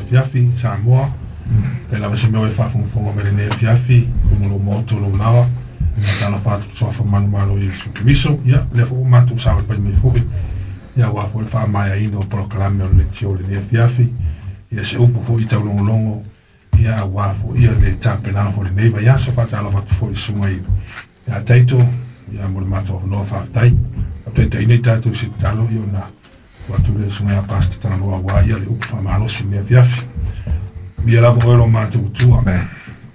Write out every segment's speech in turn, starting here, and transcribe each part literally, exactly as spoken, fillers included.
afiafi Samoa. Pe lava se mea o e faafogafoga mai lenei afiafi luga o lou maota o lou laoa. Faatalofa atu i le suafa manumalo o Iesu Keriso. Ia lea foi ua matou savalivali mai foi ia aua foi le faamaeaina o polokalame o le leitio i lenei afiafi. Ia se upu foi taulogologo ia aua foi ia le tapenaga foi o lenei vaiaso. Faatalofa atu foi i le susuga i ia Taito ia mo le matou avanoa faafetai. Faataitaiina i tatou i se tatalo ia ona tuu atu lea i le susuga ia Pastor Tagaloa aua ia le upu faamalosi i lenei afiafi. Ia lava oe lo matou Atua.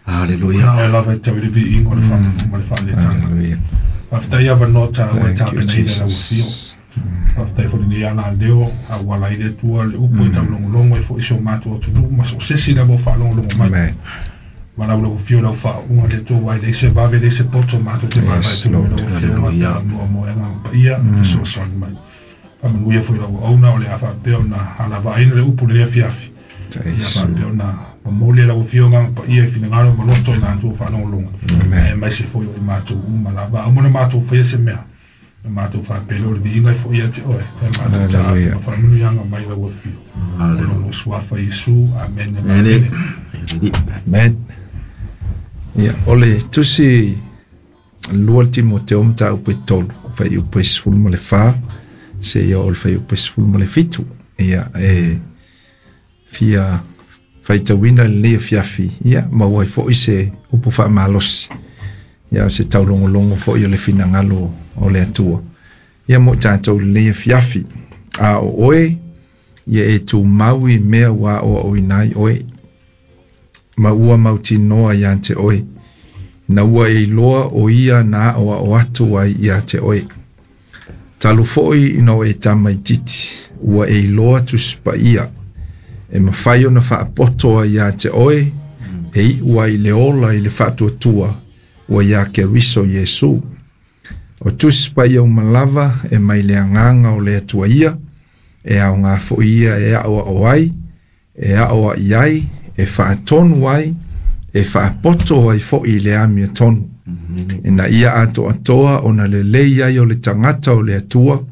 Hallelujah. Na oe lava e tau i le viiga o le faamanu ma le faaletaga. Hallelujah. Faafetai avanoa taua e Thank you, tapenaina e lau afio. Jesus. Faafetai foi lenei agaleo auala ai le Atua le upu e taulogologo ai foi si o matou atunuu ma so o se isi lava o faalogologo mai. Amen. Ma lau lau afio lau faauuga le Atua aua e leai se vave leai se poto matou te vaavaai Yes, atu i Lord. lau afioga Hallelujah. pe avanoa mo e agaga paia fesoasoani mai. Faamanuia foi lau auauna o le a faapea ona alavaaina le upu i lenei afiafi. Ia Yes. faapea ona momoli e lau afioga agaga paia i finagalo ma loto i latou faalogologo. Amen. Aemaise foi o i matou uma lava. Aua na matou faia se mea. Na matou faapea o le viiga e foi ia te oe. E matou taape Hallelujah. ma faamanuiaga mai lau afio. O lona suafa Iesu. Amen. Amen. Amen. Amen. Ia, o le tusi lua le Timoteo mataupu e tolu, fuaiupu e sefulu ma le fa, seia oo i le fuaiupu e sefulu ma le fitu. Ia, e fia faitauina lenei afiafi, ia, maua ai foi se upu faamalosi. Ia, o se taulogologo foi o le finagalo o le Atua. Ia, mo i tatou i lenei afiafi. A o oe, ia e tumau i mea ua aoaoina ai oe, ma ua mautinoa ia te oe, na ua e iloa o ia na aoao atu ai ia te oe. Talu foi ina o e tamaititi, ua e iloa Tusi Paia, e mafai ona faapoto ai ia te oe, e iu ai le ola i le faatuatua, ua ia Keriso Iesu. O Tusi Paia uma lava e mai le agaga o le Atua ia, e aoga foi ia e aoao ai, e aoai ai, e faatonu ai, e faapoto ai foi i le amiotonu. Ina ia atoatoa ona lelei ai o le tagata o le Atua,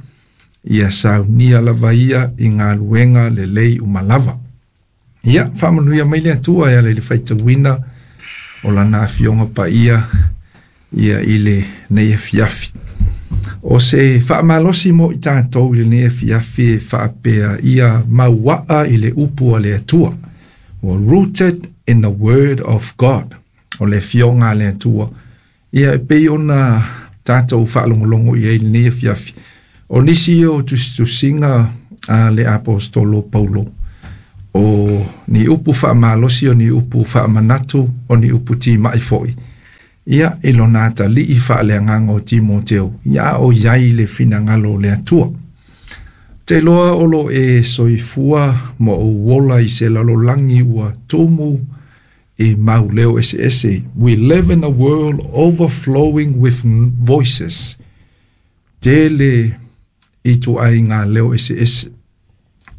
ia saunia lava ia i galuega lelei uma lava. Ia, faamanuia mai le Atua e ala i le faitauina o lana afioga paia ia i lenei afiafi. O se faamalosi mo i tatou i lenei afiafi e faapea ia mauaa i le upu a le Atua. Ua rooted in the word of God. O le afioga a le Atua. Ia e pei ona tatou faalogologo i ai i lenei afiafi. O nisi o tusitusiga a le apostolo Paulo, o ni upu faamalosi, o ni upu faamanatu, o ni upu timai foi. Ia, i lona atalii faaleagaga o Timoteo, ia o iai le finagalo o le Atua. Te loa o lo e soifua ma ou ola i se lalolagi ua tumu i mau leo eseese. We live in a world overflowing with voices. Tele i ituaiga leo eseese.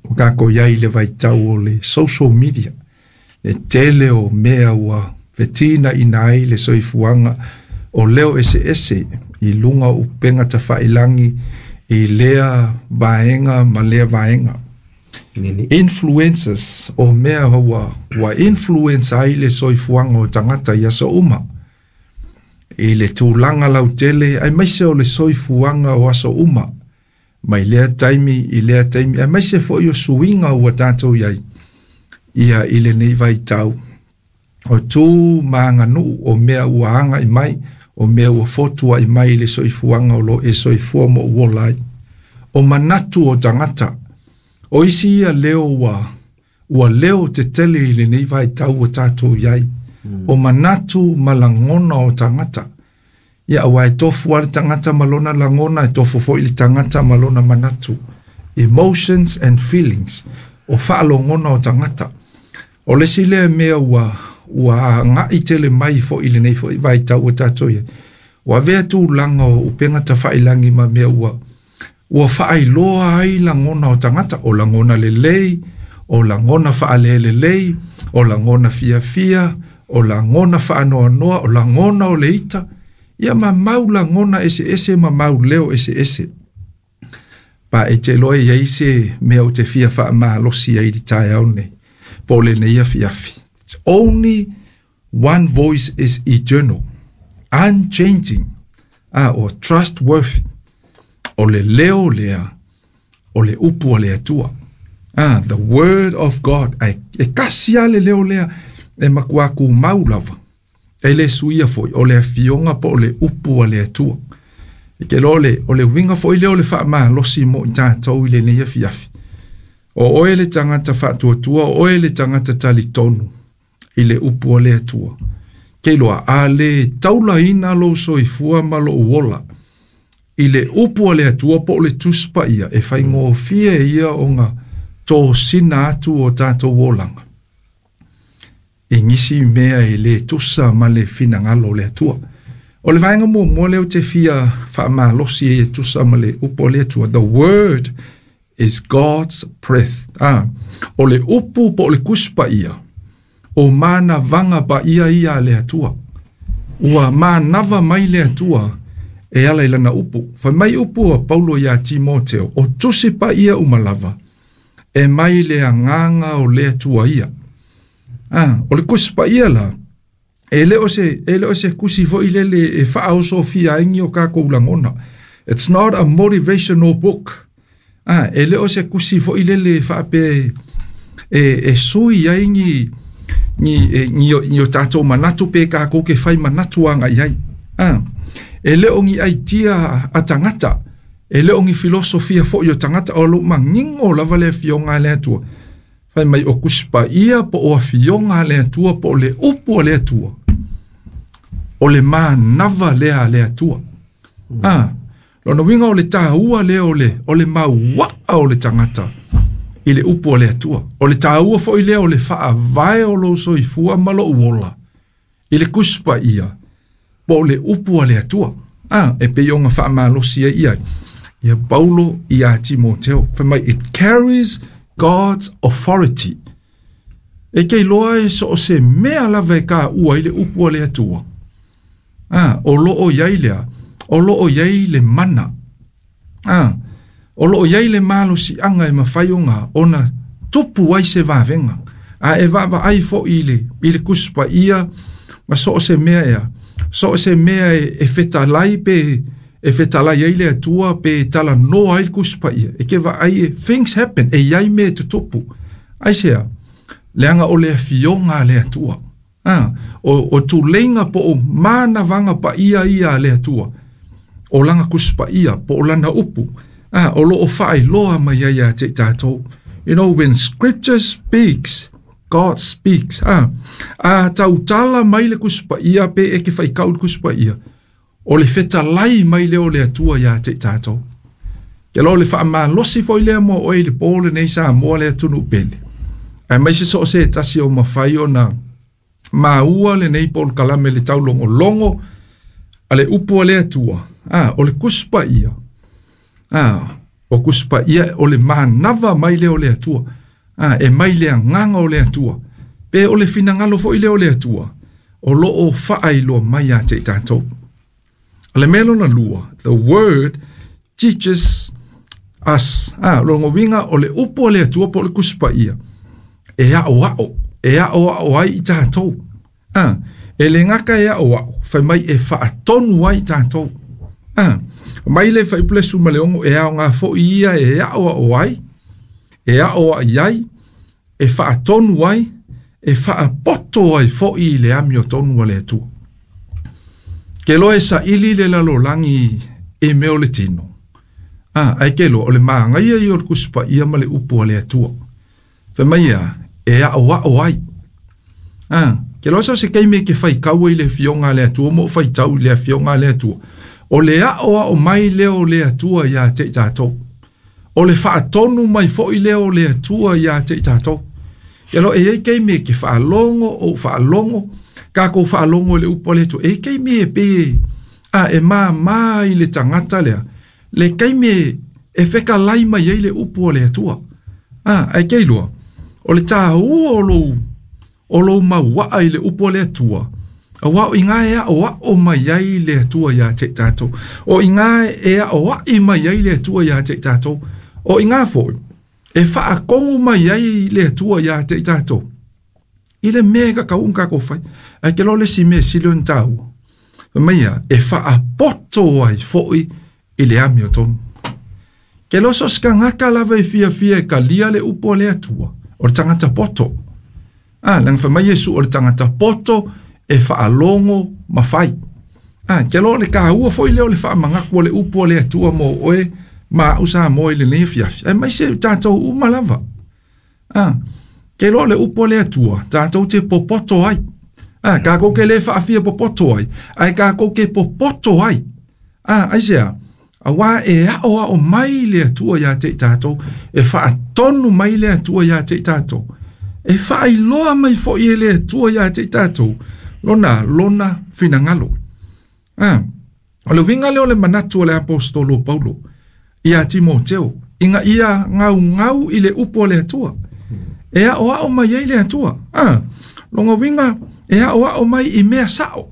O kākou iai i le vaitau o le social media. Le tele o mea ua fetinaiina ai le soifuaga o leo eseese i luga o upega tafailagi i lea vaega ma lea vaega. Influencers o mea ua, ua influence ai le soifuaga o tagata i aso uma. I le tulaga lautele, aemaise o le soifuaga o aso uma. Mai lea taimi i lea taimi, aemaise foi o suiga ua tatou iai ia i lenei vaitau. O tu ma aganuu o mea ua agai mai, o mea ua fotuai mai i le soifuaga o lo e soifua ma ou ola ai. O manatu o tagata, o isi ia leo ua, ua leo tetele i lenei vaitau ua tatou iai. O manatu ma lagona o tagata. Ia, aua e tofu lava le tagata ma lona lagona, e tofu foi le tagata ma lona manatu. Emotions and feelings, o faalogona o tagata. O le isi lea mea ua, ua agai tele mai foi i lenei foi vaitau ua tatou iai. Ua avea tulaga o upega tafailagi ma mea ua, ua faailoa ai lagona o tagata. O lagona lelei, o lagona faalelelei, o lagona fiafia, o lagona faanoanoa, o lagona o le ita. Ia ma mau lagona eseese ma mau leo eseese. Pa e te loa e iai se mea ou te fia faamalosi ai i le taeao nei. Po lenei afiafi. Only one voice is eternal, unchanging, ah, or trustworthy. O le leo lea, o le upu a le Atua. Ah, the word of God. Ai, e kasi a le leo lea, e matua kumau lava. E le suia foi, o le afioga po o le upu a le Atua. E ke lo le, o le winga foi leo le faamalosi mo i tatou i lenei afiafi. O oe le tagata faatuatua, o oe le tagata talitonu i le upu a le Atua. Ke loa, a le taulaina lou soifua ma lou ola i le upu a le Atua po o le Tusi Paia, e faigofie ia ona tosina atu o tatou olaga i nisi mea e le tusa ma le finagalo o le Atua. O le vaega muamua lea ou te fia faamalosi ai e tusa ma le upu a le Atua. The word is God's breath. Ah, o le upu po o le Tusi Paia, o manavaga paia ia a le Atua. Ua manava mai le Atua e ala i lana upu. Fai mai upu a Paulo ia Timoteo, o Tusi Paia uma lava, e mai le agaga o le Atua ia. Ah, o le Tusi Paia la, e le o se, e le o se kusi foi lele e faaosofia ai ni o kākou lagona. It's not a motivational book. Ah, e le o se kusi foi lele e faape e, e sui ai ni ni e, ni o, ni o tātou manatu pe kākou ke fai manatu anga i ai. Ah, e le o ni aitia a tagata, e le o ni filosofia foi o tagata, o lo mangingo lava le afioga a le Atua. Fai mai o Tusi Paia po o afioga a le Atua po o le upu a le Atua. O le manava lea a le Atua. Mm. Ah, lona uiga o le tāua lea o le, o le mauaa o le tagata i le upu a le Atua. O le tāua foi lea o le faavae o lou soifua ma lou ola i le Tusi Paia po o le upu a le Atua. Ah, e pei ona faamalosi ai ia ia Paulo ia Timoteo. Fai mai, it carries God's authority. E ke iloa e so o se mea lava e ka ua i le upu a le Atua. Ah, o loo iai lea, o loo iai le mana. Ah, o loo iai le malosiaga e mafai ona ona tupu ai se vavega. A e vaavaai foi i le, i le Tusi Paia ma so o se mea ea. So o se mea e, e fetalai pe e fetalai ai le Atua pe talanoa ai le Tusi Paia. E ke vaai e things happen, e iai mea e tutupu. Aisea, leaga o le afioga a le Atua. Ah, o, o tuleiga po o manavaga paia ia a le Atua. O lana Tusi Paia po o lana upu. Ah, o loo faailoa mai ai ia te tātou. You know, when scripture speaks, God speaks. Ah, a tautala mai le Tusi Paia pe e ke faikau le Tusi Paia. O le fetalai mai lea o le Atua ia te tātou. Ke lo le faamalosi foi lea mo oe i le po lenei Samoa le atunuu pele. Ae mai se so o se tasi o mafai ona maua lenei polokalame le taulogologo a le upu a le Atua. Ah, o le Tusi Paia. Ah, o Tusi Paia o le manava mai lea o le Atua. Ah, e mai le agaga o le Atua. Pe o le finagalo foi lea o le Atua. O loo faailoa mai ia te i tātou. Le mea lona lua, the word teaches us. Ah, lona uiga o le upu a le Atua po o le Tusi Paia. E aoao, e aoao ai i tātou. Ah, e le gata e aoao, fai mai e faatonu ai i tātou. Ah, mai le fuaiupu le sefulu ma le ono e aoga foi ia e aoao ai, e aoai ai, e faatonu ai, e faapoto ai foi i le amiotonu a le Atua. Ke loa e saili le lalolagi e mea o le tino. Ah, ae ke loa o le magaia ia o le Tusi Paia ma le upu a le Atua. Fai mai ia, e aoao ai. Ah, ke loa so se taimi e ke faitau ai le afioga a le Atua mo faitau i le afioga a le Atua. O le aoao mai lea o le Atua ia te i tātou. O le faatonu mai foi lea o le Atua ia te i tātou. Ke loa e iai taimi e ke faalogo o faalogo, kākou faalogo i le upu a le Atua. E taimi e pe a e māmā i le tagata lea. Le taimi e, e fekalai mai ai le upu a le Atua. Ah, ae ke iloa, o le tāua o lou, o lou mauaa i le upu a le Atua. Auā o iga e aoao mai ai le Atua ia te i tātou. O iga e aoai mai ai le Atua ia te i tātou. O iga foi, e faakogu mai ai le Atua ia te i tātou. I le mea ka kau ka ko fai. Ai ke lo le si mea sili ona taua. Mai ia, e faapoto ai foʻi i le amiotonu. Ke lo so skangaka lava e fia fia e kalia le upu o le Atua, o le tagata poto. Ah, leaga fai mai Iesu o le tagata poto e faalogo ma fai. Ah, ke lo le kaua foʻi lea o le faamagaku o le upu o le Atua mo oe ma a'u sa mo i lenei afiafi. Aemaise tatou uma lava. Ah, ke lo le upu o le Atua, tatou te popoto ai. Ah, kākou ke le faafia popoto ai, ae kākou ke popoto ai. Ah, aisea, auā e aʻoaʻo mai le Atua iā te i tatou, e faatonu mai le Atua iā te i tatou, e faailoa mai foʻi e le Atua iā te i tatou, lona, lona finagalo. Ah, o le uiga lea o le manatu o le apostolo Paulo, iā Timoteo, ina ia gaugau i le upu o le Atua. E aʻoaʻo mai ai le Atua. Ah, lona uiga e aʻoaʻo mai i mea saʻo.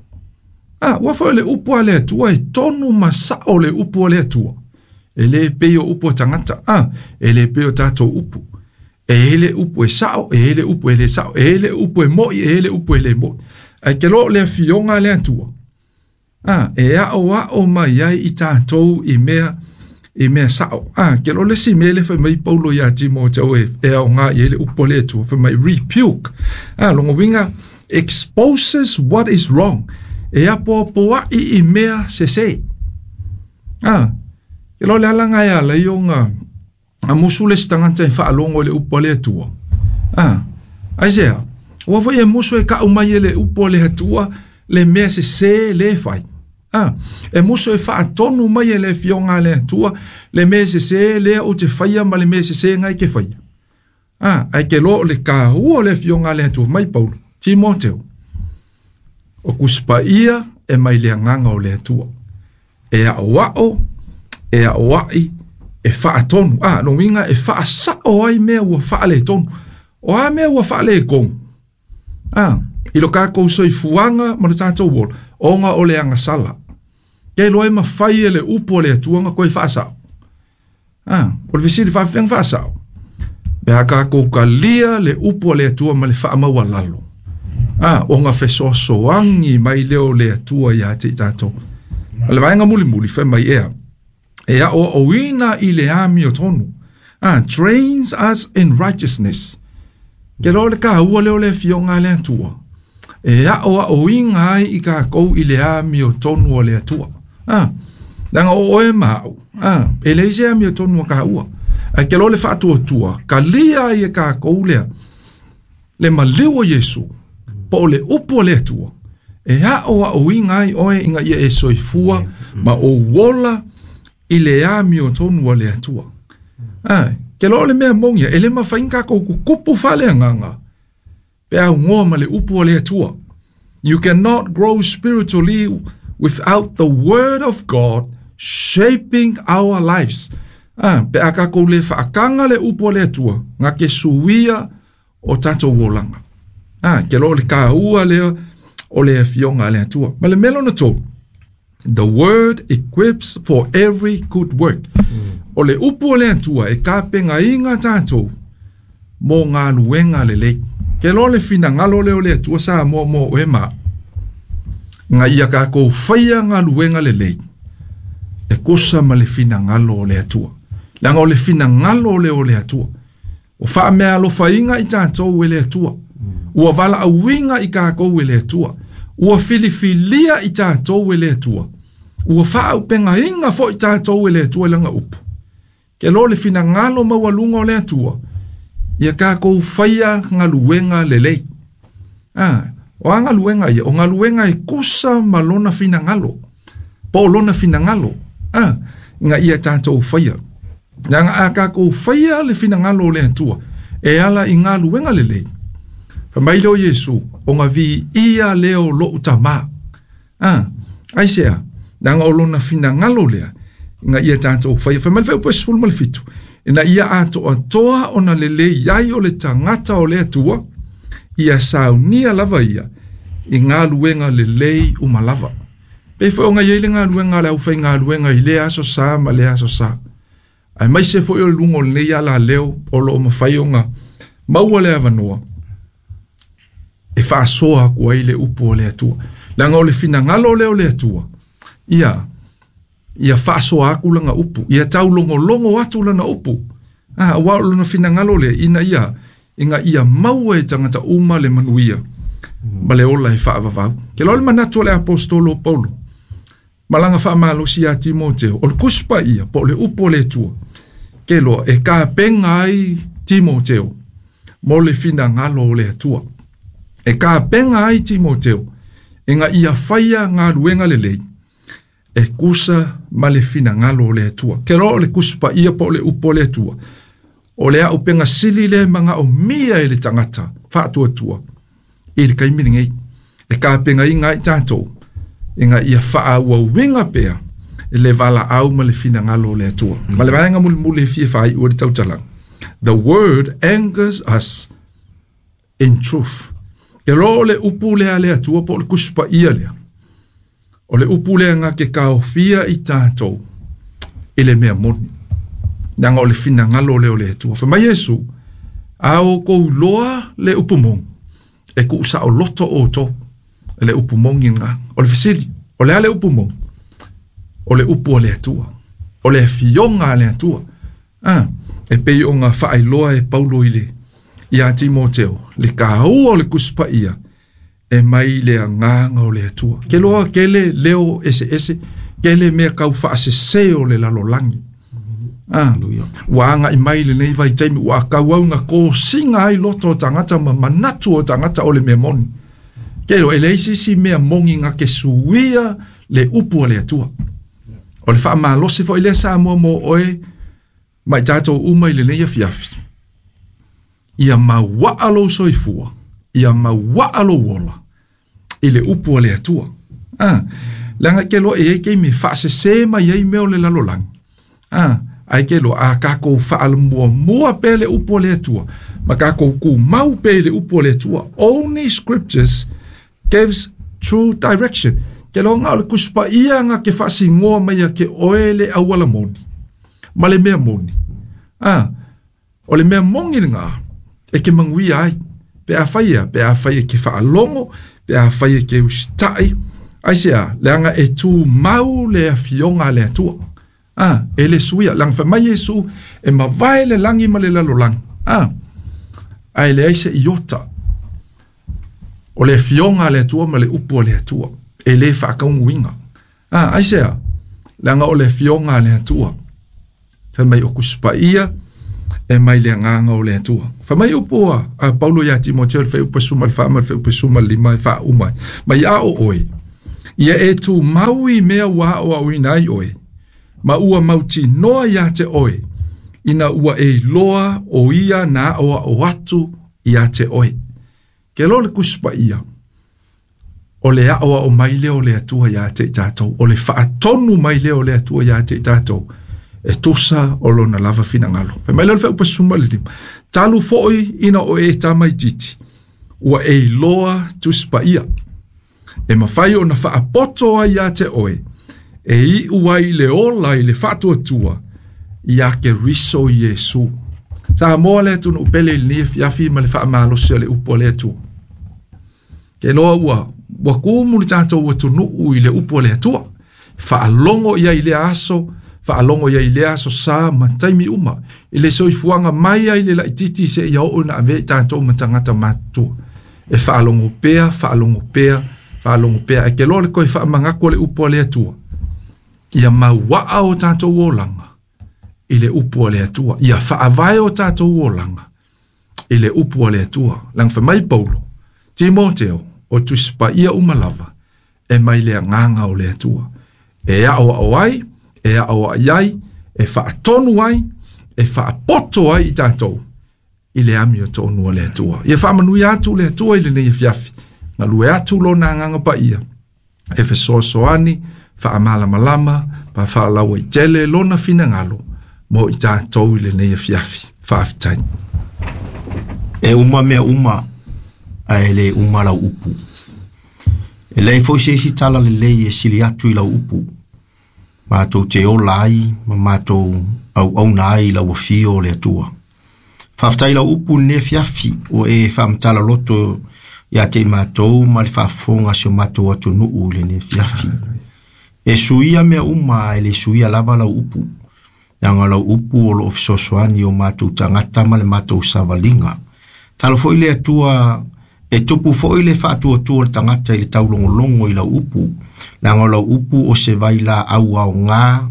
Ah, ua foi le upu a le Atua e tonu ma saʻo le upu o le Atua. E lē pei o upu a tagata. Ah, e lē pei o tatou upu. E i ai le upu e saʻo, e i ai le upu e lē saʻo, e i ai le upu e moʻi, e i ai le upu e lē moʻi. Ae ke loa o le afioga a le Atua. Ah, e aʻoaʻo mai ai i tatou i mea i mea saʻo. Ah, ke loa le isi mea le fai mai Paulo iā Timoteo e, e aoga i ai le upu a le Atua, fai mai rebuke. Ah, lona uiga exposes what is wrong. E apoapoaʻi i mea sesē. Ah, ke loa le alaga e ala ai ona musu le isi tagata e faalogo i le upu a le Atua. Ah, aisea, ua foi e musu e kaʻu mai e le upu a le Atua le mea sesē lē fai. Ah, e musu e faatonu mai e le afioga a le Atua le mea sesē lea ou te faia ma le mea sesē gai ke faia. Ah, ae ke loa o le kāua o le afioga a le Atua mai Paulo, Timoteo, o tusi paia e mai le agaga o le Atua. E aʻoaʻo, e aʻoaʻi, e faatonu. Ah, lona uiga e faasaʻo ai mea ua faaletonu. O a mea ua faaletonu. Ah, i lo kākou soifuaga ma lo tatou ola, ona o le agasala. Ke loa e mafai e le upu o le Atua ona toe faasaʻo. Ah, o le fesili faafefea faasaʻo. Pe a kākou kalia le upu o le Atua ma le faamaualalo. Ah, ona fesoasoani mai lea o le Atua iā te i tatou. O le vaega mulimuli fai mai ea. E aʻoaʻoina i le amiotonu. Ah, trains us in righteousness. Ke loa le kāua lea o le afioga a le Atua. E aʻoaʻoina ai i kākou i le amiotonu o le Atua. Ah, leaga o oe ma aʻu. Ah, e leai se amiotonu a kāua. Ae ke loa le faatuatua, kalia ai e kākou lea, le maliu o Iesu, po o le upu o le Atua. E aʻoaʻoina ai oe ina ia e soifua ma ou ola i le amiotonu o le Atua. Ah, ke loa o le mea moni ia, e lē mafai ona kākou kukupu faaleagaga pe augoa ma le upu o le Atua. You cannot grow spiritually without the word of God shaping our lives. Ah, pe a kākou lē faakaga le upu o le Atua, ga ke suia o tatou olaga. Ah, ke loa o le kāua lea o le afioga a le Atua. Ma le mea lona tolu, the word equips for every good work. O le upu o le Atua e kapegaina tatou mo galuega lelei. Ke loa le finagalo lea o le Atua sa mo mo oe ma. Nga ia kākou faia galuega lelei. E kusa ma le finagalo o le Atua. Leaga o le finagalo lea o le Atua. O faameaalofaina i tatou e le Atua. Ua valaauina i kākou e le Atua. Ua filifilia i tatou e le Atua. Ua faaaupegaina foʻi tatou e le Atua i lana upu. Ke loa le finagalo maualuga o le Atua. Ia kākou faia galuega lelei. Ah, o a galuega ia, o galuega e kusa ma lona finagalo. Po o lona finagalo. Ah, ina ia tatou faia. Leaga a kākou faia le finagalo o le Atua, e ala i galuega lelei. Fai mai lea o Iesu, ona viia lea o loʻu Tamā. Ah, aisea, leaga o lona finagalo lea, ina ia tatou faia. Fai mai le fuaiupu e sefulu ma le fitu. Ina ia atoatoa ona lelei ai o le tagata o le Atua, ia saunia lava ia i galuega lelei uma lava. Pei foi ona i ai le galuega a le aufaigaluega i lea aso sa ma lea aso sa. Aemaise foi o le luga o lenei alaleo o loo mafai ona maua le avanoa. faasoa aku ai le upu o le Atua. Leaga o le finagalo lea o le Atua, ia ia faasoa aku lana upu, ia taulogologo atu lana upu. Ah, auā o lona finagalo lea ina ia ina ia maua e tagata uma le manuia ma le ola e faavavau. Ke loa le manatu o le aposetolo o Paulo ma laga faamalosi iā Timoteo, o le Tusi Paia po o le upu o le Atua, ke loa e kapega ai Timoteo mo le finagalo o le Atua. E kapega ai Timoteo ina ia faia galuega lelei e kusa ma le finagalo o le Atua. Ke loa o le Tusi Paia po o le upu o le Atua, o le auupega sili lea e magaomia e le tagata faatuatua i le taimi lenei, e kapegaina ai tatou ina ia faaauauina pea le valaau ma le finagalo o le Atua. Ma le vaega mulimuli e fia faaiu ai le tautalaga, the word angers us in truth. Ke loa o le upu lea a le Atua po o le Tusi Paia lea, o le upu lea na ke kaofia i tatou i le mea moni, leaga o le finagalo lea o le Atua. Fai mai Iesu, a outou iloa le upu moni, e tuusaoloto outou e le upu moni lena. O le fesili, o le a le upu moni? O le upu a le Atua, o le afioga a le Atua. Ah, e pei ona faailoa e Paulo i le iā Timoteo le kāua o le Tusi Paia e mai le agaga o le Atua. Ke loa kele leo eseese, kele mea kau faasese o le lalolagi. Ah, ua aga'i mai lenei vaitaimi ua kauau na kosiga ai loto o tagata ma manatu o tagata o le mea moni. Ke loa e leai se isi mea moni na ke suia le upu a le Atua. O le faamalosi foi lea Samoa mo oe ma i tatou uma i lenei afiafi, ia mauaa lou soifua, ia mauaa lou ola i le upu a le Atua. Ah, leaga ke loa e iai taimi e faasese mai ai mea o le lalolagi. Ah, ae ke loa a kakou faalamuamua pea le upu a le Atua ma kakou tumau pea i le upu a le Atua. Only scriptures gives true direction. Ke loa na o le Tusi Paia na ke faasinoa mai ia ke oe le auala moni ma le mea moni. Ah, o le mea moni lena e ke manuia ai, pe afai ia, pe afai e ke faalogo, pe afai e ke usitai, aisea, leaga e tumau le afioga a le Atua. Ah, e le suia, leaga fai mai Iesu, e mavae le lagi ma le lalolagi. Ah, ae leai se iota o le afioga a le Atua ma le upu a le Atua, e lē faataunuuina. Ah, aisea, leaga o le afioga a le Atua, fai mai o Tusi Paia e mai le agaga o le Atua. Fai mai upu a, a Paulo iā Timoteo i le fuaiupu sefulu ma le fa ma le fuaiupu sefulu ma le lima e faauma ai, mai a o oe, ia e tumau i mea ua aoaoina ai oe, ma ua mautinoa iā te oe, ina ua e iloa o ia na aoao atu iā te oe. Ke loa le Tusi Paia, o le aoao mai lea o le Atua iā te i tatou, o le faatonu mai lea o le Atua iā te i tatou, e tusa o lona lava finagalo. Fai mai lea o le fuaiupu sefulu ma le lima, talu foi ina o e tamaititi, ua e iloa Tusi Paia, e mafai ona faapoto ai iā te oe, e iu ai le ola i le faatuatua iā Keriso Iesu. Samoa le atunuu pele i lenei afiafi ma le faamalosi o le upu a le Atua. Ke loa ua ua kumu le tatou atunuu i le upu a le Atua, faalogo ia i lea aso, faalogo ia i lea aso sa ma taimi uma, i le soifuaga mai ai le laititi seia oo ina avea i tatou ma tagata matutua. E faalogo pea, faalogo pea, faalogo pea, ae ke loa le toe faamanatu o le upu a le Atua, ia mauaa o tatou olaga i le upu a le Atua, ia faavae o tatou olaga i le upu a le Atua. Leaga fai mai Paulo, Timoteo, o Tusi Paia uma lava e mai le agaga o le Atua, e aoao ai, e aoai ai, e faatonu ai, e faapoto ai i tatou i le amiotonu a le Atua. Ia faamanuia atu le Atua i lenei afiafi, galue atu lona agaga paia, e fesoasoani, faamalamalama, pa faalauaitele lona finagalo mo i tatou i lenei afiafi. Faafetai. E uma mea uma, ae le uma lau upu. E leai foi se isi tala lelei e sili atu i lau upu. Matou te ola ai ma matou auauna ai i lau afio o le Atua. Faafetai lau upu i lenei afiafi ua e faamatala loto Ia te i matou ma le faafofoga a si o matou atunuu i lenei afiafi. E suia mea uma ae le suia lava lau upu. Leaga o lau upu o loo fesoasoani o matou tagata ma le matou savaliga. Talo foi le Atua e tupu foi le faatuatua o le tagata i le taulogologo i lau upu. Leaga o lau upu o se vailaau aoga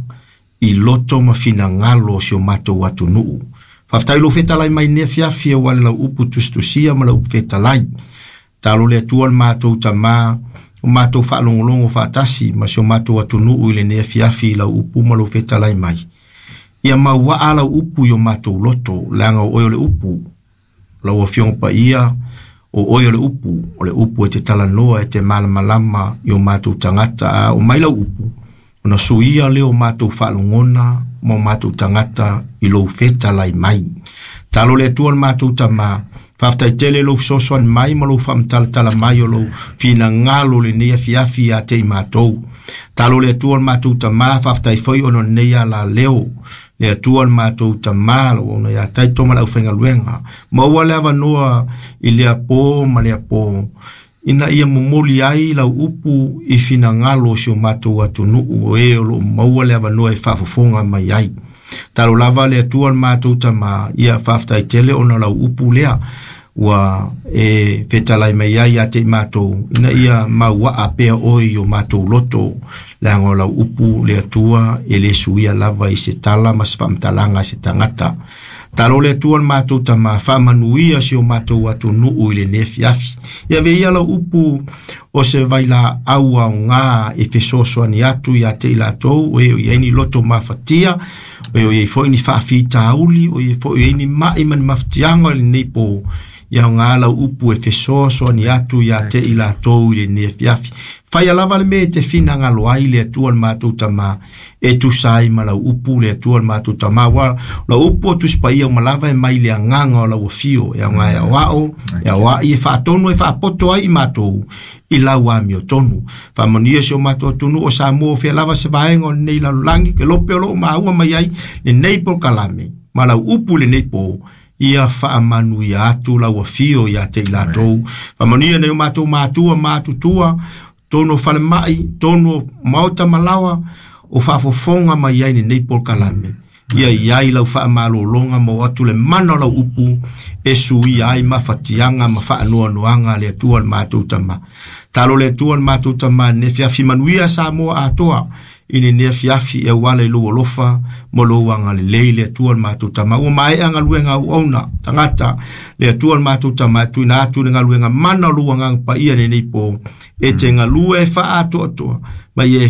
i loto ma finagalo o si o matou atunuu. Faafetai lou fetalai mai nei afiafi aua le lau upu tusitusia ma lau upu fetalai. Talo le Atua le matou tamā o matou faalogologo faatasi ma si o matou atunuu i lenei afiafi i lau upu ma lou fetalai mai. Ia mauaa lau upu i o matou loto, leaga o oe o le upu. Lau Afioga Paia, o oe o le upu, o le upu e te talanoa e te malamalama i o matou tagata, a o mai lau upu, ona suia lea o matou faalogona ma o matou tagata i lou fetalai mai. Talo le Atua le matou tamā, faafetai tele lou fesoasoani mai ma lou faamatalatala mai o lou finagalo lenei afiafi ia te i matou. Talo le Atua le matou tamā, faafetai foi ona o lenei alaleo. Le Atua le matou tamā, lau auauna ia Taito ma le aufaigaluega. Maua le avanoa i lea po ma lea po, ina ia momoli ai lau upu i finagalo o si o matou atunuu o e o loo maua le avanoa e faafofoga mai ai. Talo lava le Atua le matou tamā, ia faafetai tele ona o lau upu lea ua e fetalai mai ai ia te i matou, ina ia mauaa pea oe i o matou loto, leaga o lau upu le Atua e le suia lava i se tala ma se faamatalaga a se tagata. Talo le Atua le matou tamā, faamanuia si o matou atunuu i lenei afiafi. Ia avea ia lau upu o se vailaau aoga e fesoasoani atu ia te i latou o e o i ai ni loto mafatia, o e o i ai foi ni faafitauli, o e foi o i ai ni mai ma ni mafatiaga i lenei po. Ia aoga lau upu e fesoasoani atu ia te i latou i lenei afiafi. Faia lava le mea e te finagalo ai le Atua le matou tamā, e tusa ai ma lau upu le Atua le matou tamā. Ua lau upu o Tusi Paia uma lava e mai le agaga o lau afio, e aoga e aoao, e aoai e faatonu e faapoto ai i matou i lau amiotonu. Faamanuia si o matou atunuu o Samoa o fea lava se vaega o lenei lalolagi, ke lope o loo maua mai ai lenei polokalame ma lau upu lenei po. Ia faamanuia atu lau afio ia te i latou. Faamanuia nei o matou matua matutua, tonu o falemai, tonu o maota malawa, o faafofoga mai ai lenei polokalame. Ia i ai lau faamalologa ma o atu le mana o lau upu e suia ai mafatiaga ma faanoanoaga a le Atua le matou tamā. Talo le Atua le matou tamā lenei afiafi manuia Samoa atoa i lenei afiafi e auala i lou alofa ma lou agalelei le Atua le matou tamā. Ua maea galuega auauna tagata le Atua le matou tamā e tuuina atu le galuega mana o lou agaga paia lenei po e te galue e faaatoatoa ma ia e